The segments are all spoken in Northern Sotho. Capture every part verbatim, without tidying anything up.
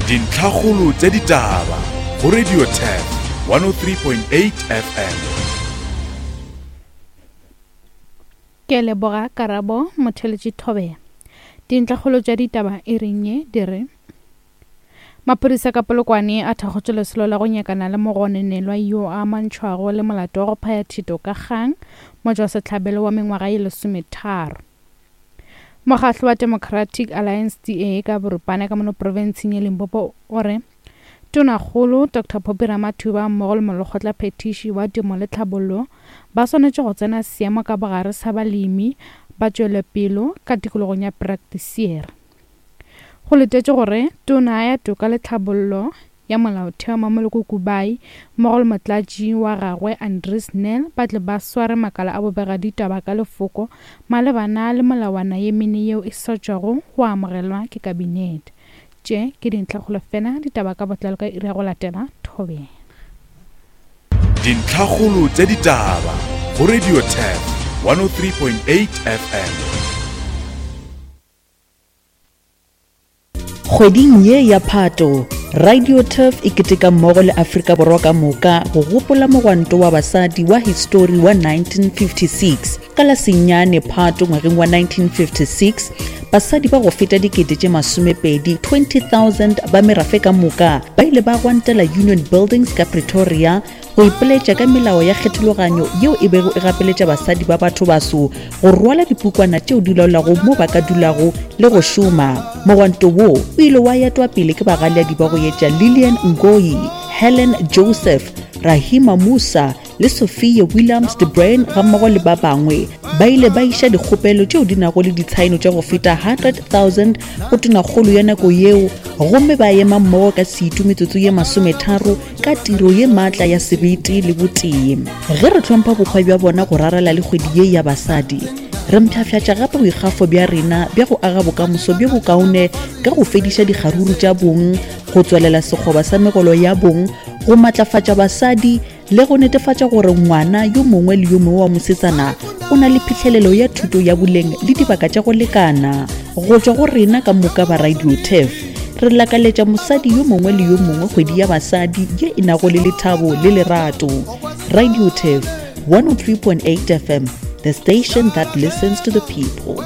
Dintlhakgolo tša ditaba go Radio Turf one oh three point eight F M. Ke leboga Karabo Motheletši Thobela. Dintlhakgolo tša ditaba e reng ye di re maphodisa ka Polokwane a thakgotše lesolo la go nyakana le mogononelwa yo a amantšhwago le molato wa go phaya thito ka kgang motšwasehlabelo wa mengwaga ye lesometharo. Mokgatlo wa Democratic Alliance D A ka boripana ka mono profenseng ya Limpopo o re Tonakgolo Doctor Phophi Ramathuba mmogo le molekgotla phetiši wa temo le tlhabollo ba swanetše go tsena seemo ka bogare sa balemi ba tšwelopele ka tikologong ya Praktiseer. Go letetše gore tona ya toka le tlhabollo ya molaotheo Mmamoloko Kubayi mmogo le motlatši wa gagwe Andries Nel ba tle ba sware makala a bobegaditaba ka lefoko malebana le melawana ye mene yeo e sa tšwago go amogelwa ke kabinete. Tše ke dintlhakgolo fela ditaba ka botlalo ka iri ya go latela Thobela. Dintlhakgolo tša ditaba go Radio Turf one oh three point eight F M. Kgweding ye ya Phato, Radio Turf e keteka mmogo le Afrika Borwa ka moka go gopola mogwanto wa basadi wa histori wa nineteen fifty-six. Ka la senyane Phato ngwageng wa nineteen fifty-six, basadi ba go feta dikete tše masomepedi twenty thousand ba merafe ka moka ba ile ba gwantela Union Buildings ka Pretoria go ipoletša ka melao ya kgethologanyo yeo e bego e gapeletša basadi ba batho baso go rwala dipukwana tšeo di laolago mo ba ka dulago le go šoma. Mogwanto wo o ile wa etwa pele ke bagaleadi ba go etša Lillian Ngoyi, Helen Joseph, Rahima Musa le Sophia Williams de Bruyn gammogo le ba bangwe. Ba ile ba iša dikgopelo tšeo di nago le ditshaeno tša go feta hundred thousand go tonakgolo ya nako yeo, gomme ba ema mmogo ka setu metsotso ye masometharo ka tiro ye maatla ya sebete le botee. Ge re hlompha bokgwa bja bona go rarela le kgwedi ye ya basadi, re mpshafšatša gape boikgafo bja rena bja go aga bokamoso bjo bokaone ka go fediša dikgaruru tša bong, go tswalela sekgoba sa megolo ya bong, go matlafatša basadi le go netefatša gore ngwana yo mongwe le yo mongwe wa mosetsana o na le phihlelelo ya thuto ya boleng le dibaka tša go lekana. Go tšwa go rena ka moka ba Radio Turf, re lakaletša mosadi yo mongwe le yo mongwe kgwedi ya basadi ye e nago le lethabo le lerato. Radio Turf one oh three point eight F M, the station that listens to the people.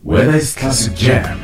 Whether it's classic jams,